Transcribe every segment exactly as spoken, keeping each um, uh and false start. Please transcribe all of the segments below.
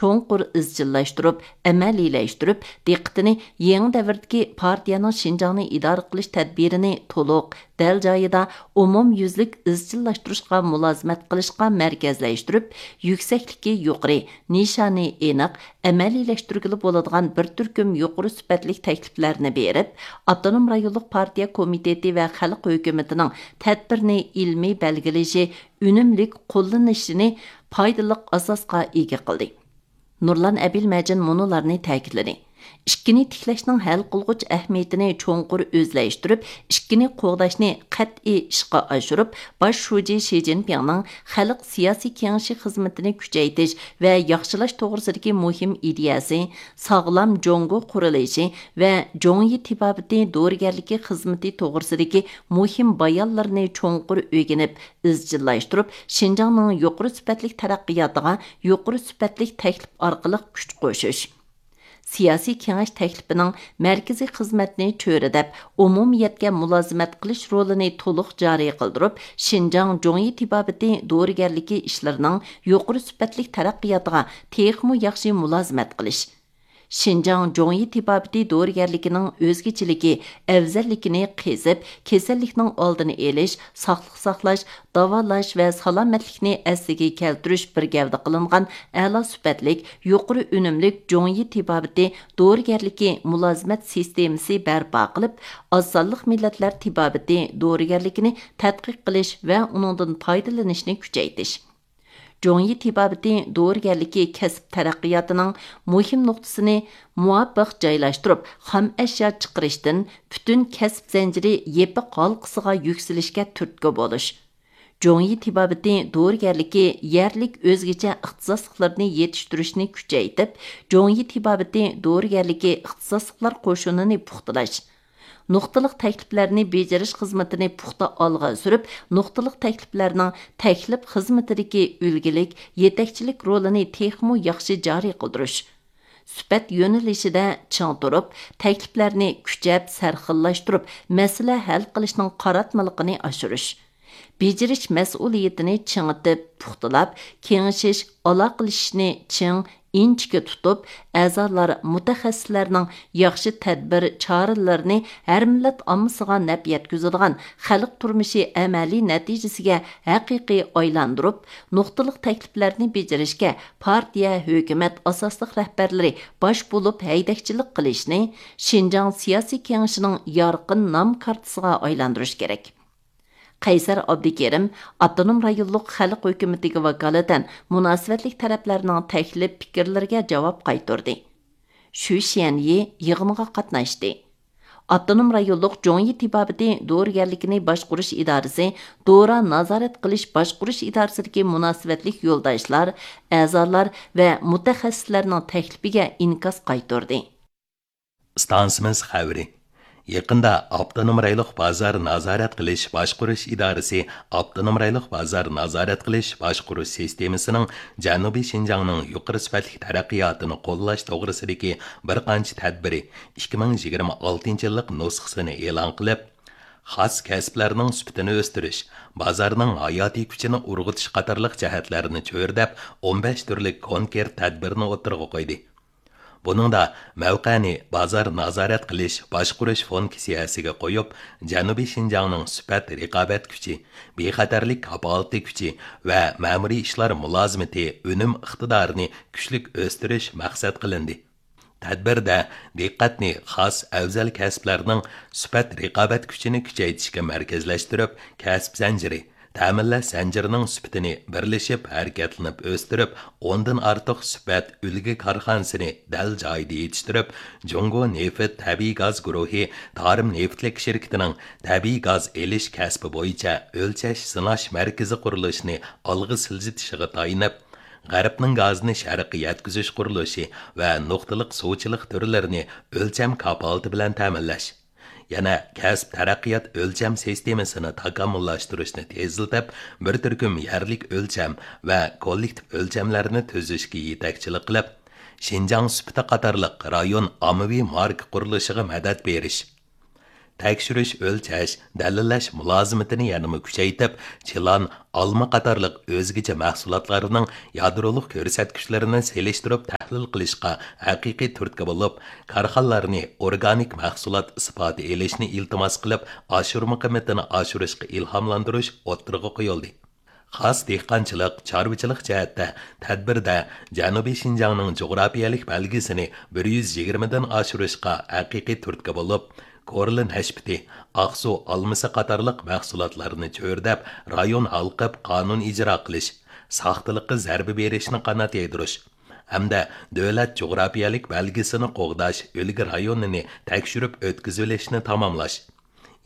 چوڭقۇر ئىزچىللاشتۇرۇپ، ئەمەلىيلەشتۈرۈپ، دىققىتىنى يېڭى دەۋردىكى پارتىيەنىڭ شىنجاڭنى ئىدارە قىلىش تەدبىرىنى تولۇق، دەل جايىدا، ئومۇميۈزلۈك ئىزچىللاشتۇرۇشقا مۇلازىمەت قىلىشقا مەركەزلەشتۈرۈپ، يۈكسەكلىكى يۇقىرى، نىشانى ئېنىق، ئەمەلىيلەشتۈرگىلى بولىدىغان بىر تۈركۈم يۇقىرى سۈپەتلىك تەكلىپلەرنى بېرىپ، ئاپتونوم رايونلۇق پارتىيە كومىتېتى ۋە خەلق ھۆكۈمىتىنىڭ تەدبىرنى ئىلمىي بەلگىلىشى، ئۈنۈملۈك قوللىنىشىنى پايدىلىق ئاساسقا ئىگە قىلدى. نۇرلان ئەبىلمەجىن مۇنۇلارنى تەكىتلىدى: ئىككىنى تىكلەشنىڭ ھەل قىلغۇچ ئەھمىيىتىنى چوڭقۇر ئۆزلەشتۈرۈپ، ئىككىنى قوغداشنى قەتئىي ئىشقا ئاشۇرۇپ، باش شۇجى شى جىنپىڭنىڭ خەلق سىياسىي كېڭىشى خىزمىتىنى كۈچەيتىش ۋە ياخشىلاش توغرىسىدىكى مۇھىم ئىدىيەسى، ساغلام جۇڭگو قۇرۇلۇشى ۋە جۇڭيى تېبابىتى دورىگەرلىكى خىزمىتى توغرىسىدىكى مۇھىم بايانلىرىنى چوڭقۇر ئۆگىنىپ، ئىزچىللاشتۇرۇپ، شىنجاڭنىڭ يۇقىرى سۈپەتلىك تەرەققىياتىغا يۇقىرى سۈپەتلىك تەكلىپ ئارقىلىق كۈچ قوشۇش. سىياسىي كېڭەش تەكلىپىنىڭ مەركىزىي خىزمەتنى چۆرىدەپ، ئومۇمىيەتكە مۇلازىمەت قىلىش رولىنى تولۇق جارى قىلدۇرۇپ، شىنجاڭ جۇڭيى تېبابىتى دورىگەرلىكى ئىشلىرىنىڭ يۇقىرى سۈپەتلىك تەرەققىياتىغا تېخىمۇ ياخشى مۇلازىمەت قىلىش. شىنجاڭ جۇڭيى تېبابىتى دورىگەرلىكىنىڭ ئۆزگىچىلىكى، ئەۋزەللىكىنى قېزىپ، كېسەللىكنىڭ ئالدىنى ئېلىش، ساقلىق ساقلاش، داۋالاش ۋە سالامەتلىكنى ئەسلىگە كەلتۈرۈش بىر گەۋدە قىلىنغان ئەلا سۈپەتلىك، يۇقىرى ئۈنۈملۈك جۇڭيى تېبابىتى دورىگەرلىكى مۇلازىمەت سىستېمىسى بەرپا قىلىپ، ئاز سانلىق مىللەتلەر تېبابىتى دورىگەرلىكىنى تەتقىق قىلىش ۋە ئۇنىڭدىن پايدىلىنىشنى كۈچەيتىش. جۇڭيى تېبابىتى دورىگەرلىكى كەسىپ تەرەققىياتىنىڭ مۇھىم نۇقتىسىنى مۇۋاپىق جايلاشتۇرۇپ، خام ئەشيا چىقىرىشتىن پۈتۈن كەسىپ زەنجىرى يېپىق ھالقىسىغا يۈكسىلىشكە تۈرتكە بولۇش. جۇڭيى تېبابىتى دورىگەرلىكى يەرلىك ئۆزگىچە ئىختىساسلىقلىرىنى يېتىشتۈرۈشنى كۈچەيتىپ، جۇڭيى تېبابىتى دورىگەرلىكى ئىختىساسلىقلار قوشۇنىنى پۇختىلاش، نۇقتىلىق تەكلىپلەرنى بېجىرىش خىزمىتىنى پۇختا ئالغا سۈرۈپ، نۇقتىلىق تەكلىپلەرنىڭ تەكلىپ خىزمىتىدىكى ئۈلگىلىك، يېتەكچىلىك رولىنى تېخىمۇ ياخشى جارى قىلدۇرۇش. سۈپەت يۆنىلىشىدە چىڭ تۇرۇپ، تەكلىپلەرنى كۈچەپ سەرخىللاشتۇرۇپ، مەسىلە ھەل قىلىشنىڭ قاراتمىلىقىنى ئاشۇرۇش. بېجىرىش مەسئۇلىيىتىنى چىڭىتىپ، پۇختىلاپ، كېڭىشىش، ئالاقىلىشىشنى چىڭ، ئىنچىكە تۇتۇپ، ئەزالار، مۇتەخەسسىسلەرنىڭ ياخشى تەدبىر، چارىلىرىنى ھەر مىللەت ئاممىسىغا نەپ يەتكۈزىدىغان خەلق تۇرمۇشى ئەمەلىي نەتىجىسىگە ھەقىقىي ئايلاندۇرۇپ، نۇقتىلىق تەكلىپلەرنى بېجىرىشكە پارتىيە، ھۆكۈمەت ئاساسلىق رەھبەرلىرى باش بولۇپ ھەيدەكچىلىك قىلىشنى شىنجاڭ سىياسىي كېڭىشىنىڭ يارقىن نام كارتىسىغا ئايلاندۇرۇش كېرەك. قەيسەر ئابدۇكېرىم ئاپتونوم رايونلۇق خەلق ھۆكۈمىتىگە ۋاكالىتەن مۇناسىۋەتلىك تەرەپلەرنىڭ تەكلىپ پىكىرلىرىگە جاۋاب قايتۇردى. شۈ شيەنيى يىغىنغا قاتناشتى. ئاپتونوم رايونلۇق جۇڭيى تېبابىتى دورىگەرلىكىنى باشقۇرۇش ئىدارىسى دورا نازارەت قىلىش باشقۇرۇش ئىدارىسىدىكى مۇناسىۋەتلىك يولداشلار، ئەزالار ۋە مۇتەخەسسىسلەرنىڭ تەكلىپىگە ئىنكاس قايتۇردى. ئىستانسىمىز خەۋىرى. يېقىندا ئاپتونوم رايونلۇق بازار نازارەت قىلىش باشقۇرۇش ئىدارىسى ئاپتونوم رايونلۇق بازار نازارەت قىلىش باشقۇرۇش سىستېمىسىنىڭ جەنۇبىي شىنجاڭنىڭ يۇقىرى سۈپەتلىك تەرەققىياتىنى قوللاش توغرىسىدىكى بىر قانچە تەدبىرى ئىككى مىڭ يىگىرمە ئالتىنچى يىللىق نۇسخىسىنى ئېلان قىلىپ، خاس كەسىپلەرنىڭ سۈپىتىنى ئۆستۈرۈش، بازارنىڭ ھاياتىي كۈچىنى ئۇرغۇتۇش قاتارلىق جەھەتلەرنى چۆرىدەپ، ئون بەش تۈرلۈك كونكرېت تەدبىرنى ئوتتۇرىغا قويدى. بۇنىڭدا مەۋقەنى بازار نازارەت قىلىش، باشقۇرۇش فۇنكسىيەسىگە قويۇپ، جەنۇبىي شىنجاڭنىڭ سۈپەت رىقابەت كۈچى، بىخەتەرلىك كاپالىتى كۈچى ۋە مەمۇرىي ئىشلار مۇلازىمىتى ئۈنۈم ئىقتىدارىنى كۈچلۈك ئۆستۈرۈش مەقسەت قىلىندى. تەدبىردە دىققەتنى خاس ئەۋزەل كەسىپلەرنىڭ سۈپەت رىقابەت كۈچىنى كۈچەيتىشكە مەركەزلەشتۈرۈپ، كەسىپ زەنجىرى، تەمىنلەش زەنجىرىنىڭ سۈپىتىنى بىرلىشىپ ھەرىكەتلىنىپ ئۆستۈرۈپ، ئوندىن ئارتۇق سۈپەت ئۈلگە كارخانىسىنى دەل جايىدا يېتىشتۈرۈپ، جۇڭگو نېفىت تەبىئىي گاز گۇرۇھى تارىم نېفىتلىك شىركىتىنىڭ تەبىئىي گاز ئېلىش كەسپى بويىچە ئۆلچەش سىناش مەركىزى قۇرۇلۇشىنى ئالغا سىلجىتىشىغا تايىنىپ، غەربنىڭ گازىنى شەرققە يەتكۈزۈش قۇرۇلۇشى ۋە نۇقتىلىق سۇچىلىق تۈرلىرىنى ئۆلچەم كاپالىتى بىلەن تەمىنلەش، يەنە كەسىپ تەرەققىيات ئۆلچەم سىستېمىسىنى تاكامۇللاشتۇرۇشنى تېزلىتىپ، بىر تۈركۈم يەرلىك ئۆلچەم ۋە كوللېكتىپ ئۆلچەملەرنى تۈزۈشكە يېتەكچىلىك قىلىپ، شىنجاڭ سۈپىتى قاتارلىق رايون ئاممىۋى ماركا قۇرۇلۇشىغا مەدەت بېرىش، تەكشۈرۈش، ئۆلچەش، دەلىللەش مۇلازىمىتىنى يەنىمۇ كۈچەيتىپ، چىلان، ئالما قاتارلىق ئۆزگىچە مەھسۇلاتلارنىڭ يادرولۇق كۆرسەتكۈچلىرىنى سېلىشتۇرۇپ تەھلىل قىلىشقا ھەقىقىي تۈرتكە بولۇپ، كارخانىلارنى ئورگانىك مەھسۇلات ئىسپاتى ئېلىشنى ئىلتىماس قىلىپ، ئاشۇرما قىممىتىنى ئاشۇرۇشقا ئىلھاملاندۇرۇش ئوتتۇرىغا قويۇلدى. خاس دېھقانچىلىق، چارۋىچىلىق جەھەتتە تەدبىردە جەنۇبىي شىنجاڭنىڭ جۇغراپىيەلىك بەلگىسىنى بىر يۈز يىگىرمىدىن ئاشۇرۇشقا ھەقىقىي تۈرتكە بولۇپ، كورلا نەشپۈتى، ئاقسۇ ئالمىسى قاتارلىق مەھسۇلاتلارنى چۆرىدەپ، رايون ھالقىپ قانۇن ئىجرا قىلىش، ساختىلىققا زەربە بېرىشنى قانات يايدۇرۇش ھەمدە دۆلەت جۇغراپىيەلىك بەلگىسىنى قوغداش ئۈلگە رايونىنى تەكشۈرۈپ ئۆتكۈزۈۋېلىشنى تاماملاش.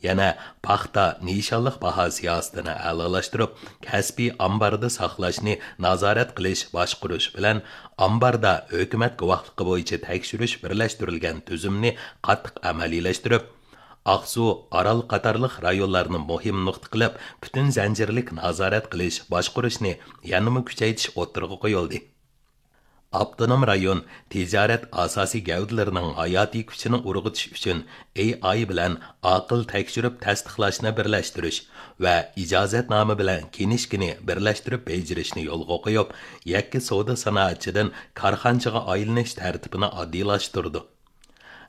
يەنە پاختا نىشانلىق باھا سىياسىتىنى ئەلالاشتۇرۇپ، كەسپىي ئامباردا ساقلاشنى نازارەت قىلىش، باشقۇرۇش بىلەن ئامباردا ھۆكۈمەت گۇۋاھلىقى بويىچە تەكشۈرۈش بىرلەشتۈرۈلگەن تۈزۈمنى قاتتىق ئەمەلىيلەشتۈرۈپ، ئاقسۇ، ئارال قاتارلىق رايونلارنى مۇھىم نۇقتا قىلىپ، پۈتۈن زەنجىرلىك نازارەت قىلىش، باشقۇرۇشنى يەنىمۇ كۈچەيتىش ئوتتۇرىغا قويۇلدى. ئاپتونوم رايون تىجارەت ئاساسىي گەۋدىلىرىنىڭ ھاياتىي كۈچىنى ئۇرغۇتۇش ئۈچۈن ئېي ئاي بىلەن ئاقىل تەكشۈرۈپ تەستىقلاشنى بىرلەشتۈرۈش ۋە ئىجازەتنامە بىلەن كىنىشكىنى بىرلەشتۈرۈپ بېجىرىشنى يولغا قويۇپ، يەككە سودا سانائەتچىدىن كارخانىچىغا ئايلىنىش تەرتىپىنى ئاددىيلاشتۇردى.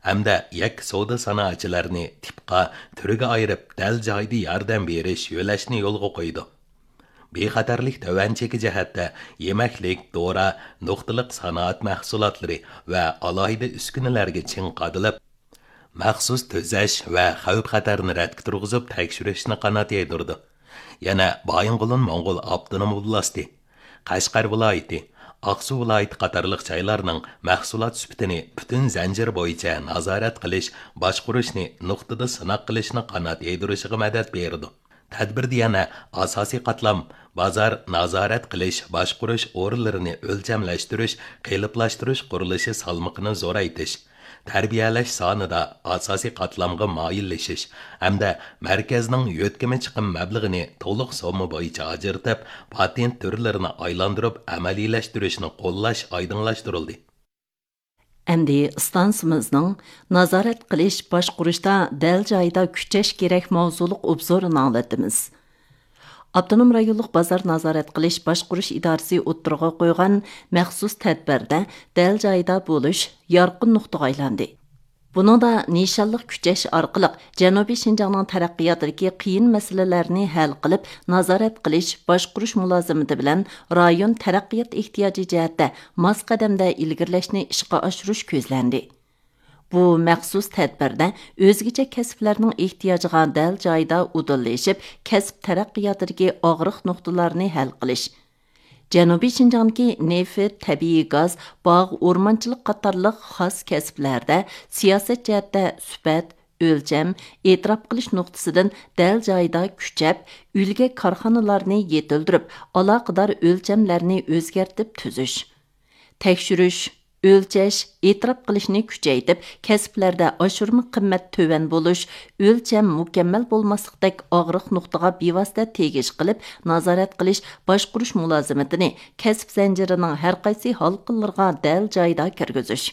ھەمدە يەككە سودا سانائەتچىلەرنى تىپقا، تۈرگە ئايرىپ، دەل جايىدا ياردەم بېرىش يۆلەشنى يولغا قويدى. بىخەتەرلىك تۆۋەن چېكى جەھەتتە يېمەكلىك، دورا، نۇقتىلىق سانائەت مەھسۇلاتلىرى ۋە ئالاھىدە ئۈسكۈنىلەرگە چىڭ قادىلىپ، مەخسۇس تۈزەش ۋە خەۋپ-خەتەرنى رەتكە تۇرغۇزۇپ تەكشۈرۈشنى قانات يايدۇرىدۇ. يەنە بايىنغولىن موڭغۇل ئاپتونوم ئوبلاستى، قەشقەر ۋىلايىتى، ئاقسۇ ۋىلايىتى قاتارلىق جايلارنىڭ مەھسۇلات سۈپىتىنى پۈتۈن زەنجىر بويىچە نازارەت قىلىش، باشقۇرۇشنى نۇقتىدا سىناق قىلىشنى قانات يايدۇرۇشىغا مەدەت بېرىدۇ. تەدبىردە يەنە ئاساسىي قاتلام، بازار نازارەت قىلىش، باشقۇرۇش ئورۇنلىرىنى ئۆلچەملەشتۈرۈش، قېلىپلاشتۇرۇش قۇرۇلۇشى سالمىقىنى زورايتىش، تەربىيەلەش سانىدا ئاساسىي قاتلامغا مايىللىشىش ھەمدە مەركەزنىڭ يۆتكىمە چىقىم مەبلىغىنى تولۇق سومما بويىچە ئاجرىتىپ، پاتېنت تۈرلىرىنى ئايلاندۇرۇپ ئەمەلىيلەشتۈرۈشنى قوللاش ئايدىڭلاشتۇرۇلدى. ئەمدى ئىستانسىمىزنىڭ نازارەت قىلىش، باشقۇرۇشتا دەل جايىدا كۈچەش كېرەك ماۋزۇلۇق ئوبزورىنى ئاڭلىتىمىز. ئاپتونوم رايونلۇق بازار نازارەت قىلىش، باشقۇرۇش ئىدارىسى ئوتتۇرىغا قويغان مەخسۇس تەدبىردە دەل جايىدا بولۇش يارقىن نۇقتىغا ئايلاندى. بۇنىڭدا نىشانلىق كۈچەش ئارقىلىق جەنۇبىي شىنجاڭنىڭ تەرەققىياتىدىكى قىيىن مەسىلىلەرنى ھەل قىلىپ، نازارەت قىلىش، باشقۇرۇش مۇلازىمىتى بىلەن رايون تەرەققىيات ئېھتىياجى جەھەتتە ماس قەدەمدە ئىلگىرىلەشنى ئىشقا ئاشۇرۇش كۆزلەندى. بۇ مەخسۇس تەدبىردە ئۆزگىچە كەسىپلەرنىڭ ئېھتىياجىغا دەل جايىدا ئۇدۇللىشىپ، كەسىپ تەرەققىياتىدىكى ئاغرىق نۇقتىلارنى ھەل قىلىش، جەنۇبىي شىنجاڭدىكى نېفىت، تەبىئىي گاز، باغ، ئورمانچىلىق قاتارلىق خاس كەسىپلەردە سىياسەت جەھەتتە سۈپەت، ئۆلچەم، ئېتىراپ قىلىش نۇقتىسىدىن دەل جايىدا كۈچەپ، ئۈلگە كارخانىلارنى يېتىلدۈرۈپ، ئالاقىدار ئۆلچەملەرنى ئۆزگەرتىپ تۈزۈش، تەكشۈرۈش، ئۆلچەش، ئېتىراپ قىلىشنى كۈچەيتىپ، كەسىپلەردە ئاشۇرما قىممەت تۆۋەن بولۇش، ئۆلچەم مۇكەممەل بولماسلىقتەك ئاغرىق نۇقتىغا بىۋاسىتە تېگىش قىلىپ، نازارەت قىلىش، باشقۇرۇش مۇلازىمىتىنى كەسىپ زەنجىرىنىڭ ھەرقايسى ھالقىلىرىغا دەل جايىدا كىرگۈزۈش.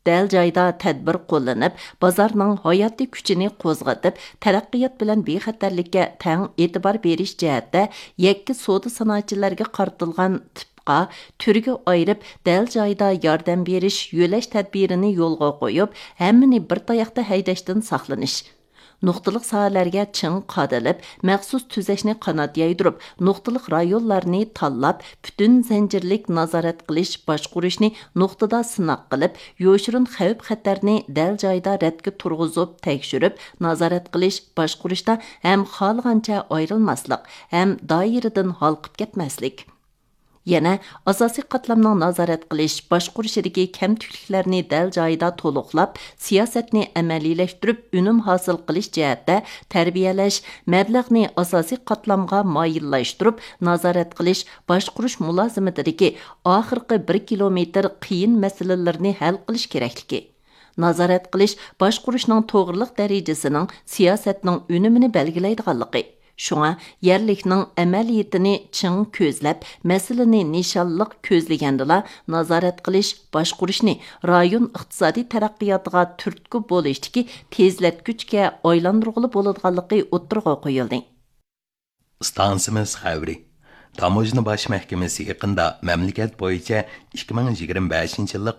دەل جايىدا تەدبىر قوللىنىپ، بازارنىڭ ھاياتىي كۈچىنى قوزغىتىپ، تەرەققىيات بىلەن بىخەتەرلىككە تەڭ ئېتىبار بېرىش جەھەتتە يەككە سودا سانائەتچىلەرگە قارىتىلغان تىپقا، تۈرگە ئايرىپ، دەل جايىدا ياردەم بېرىش، يۆلەش تەدبىرىنى يولغا قويۇپ، ھەممىنى بىر تاياقتا ھەيدەشتىن ساقلىنىش. نۇقتىلىق ساھەلەرگە چىڭ قادىلىپ، مەخسۇس تۈزەشنى قانات يايدۇرۇپ، نۇقتىلىق رايونلارنى تاللاپ، پۈتۈن زەنجىرلىك نازارەت قىلىش، باشقۇرۇشنى نۇقتىدا سىناق قىلىپ، يوشۇرۇن خەۋپ-خەتەرنى دەل جايىدا رەتكە تۇرغۇزۇپ، تەكشۈرۈپ، نازارەت قىلىش، باشقۇرۇشتا ھەم خالىغانچە ئايرىلماسلىق، ھەم دائىرىدىن ھالقىپ كەتمەسلىك. يەنە ئاساسىي قاتلامنىڭ نازارەت قىلىش، باشقۇرۇشىدىكى كەمتۈكلۈكلەرنى دەل جايىدا تولۇقلاپ، سىياسەتنى ئەمەلىيلەشتۈرۈپ، ئۈنۈم ھاسىل قىلىش جەھەتتە تەربىيەلەش، مەبلەغنى ئاساسىي قاتلامغا مايىللاشتۇرۇپ، نازارەت قىلىش، باشقۇرۇش مۇلازىمىتىدىكى ئاخىرقى بىر كىلومېتىر قىيىن مەسىلىلىرىنى ھەل قىلىش كېرەكلىكى. نازارەت قىلىش، باشقۇرۇشنىڭ توغرىلىق دەرىجىسىنىڭ سىياسەتنىڭ ئۈنۈمىنى بەلگىلەيدىغانلىقى، شۇڭا يەرلىكنىڭ ئەمەلىيىتىنى چىڭ كۆزلەپ، مەسىلىنى نىشانلىق كۆزلىگەندىلا، نازارەت قىلىش، باشقۇرۇشنى رايون ئىقتىسادىي تەرەققىياتىغا تۈرتكە بولۇشتىكى تېزلەتكۈچكە ئايلاندۇرغىلى بولىدىغانلىقى ئوتتۇرىغا قويۇلدى. ئىستانسىمىز خەۋىرى. تاموژنا باش مەھكىمىسى يېقىندا مەملىكەت بويىچە ئىككى مىڭ يىگىرمە بەشىنچى يىللىق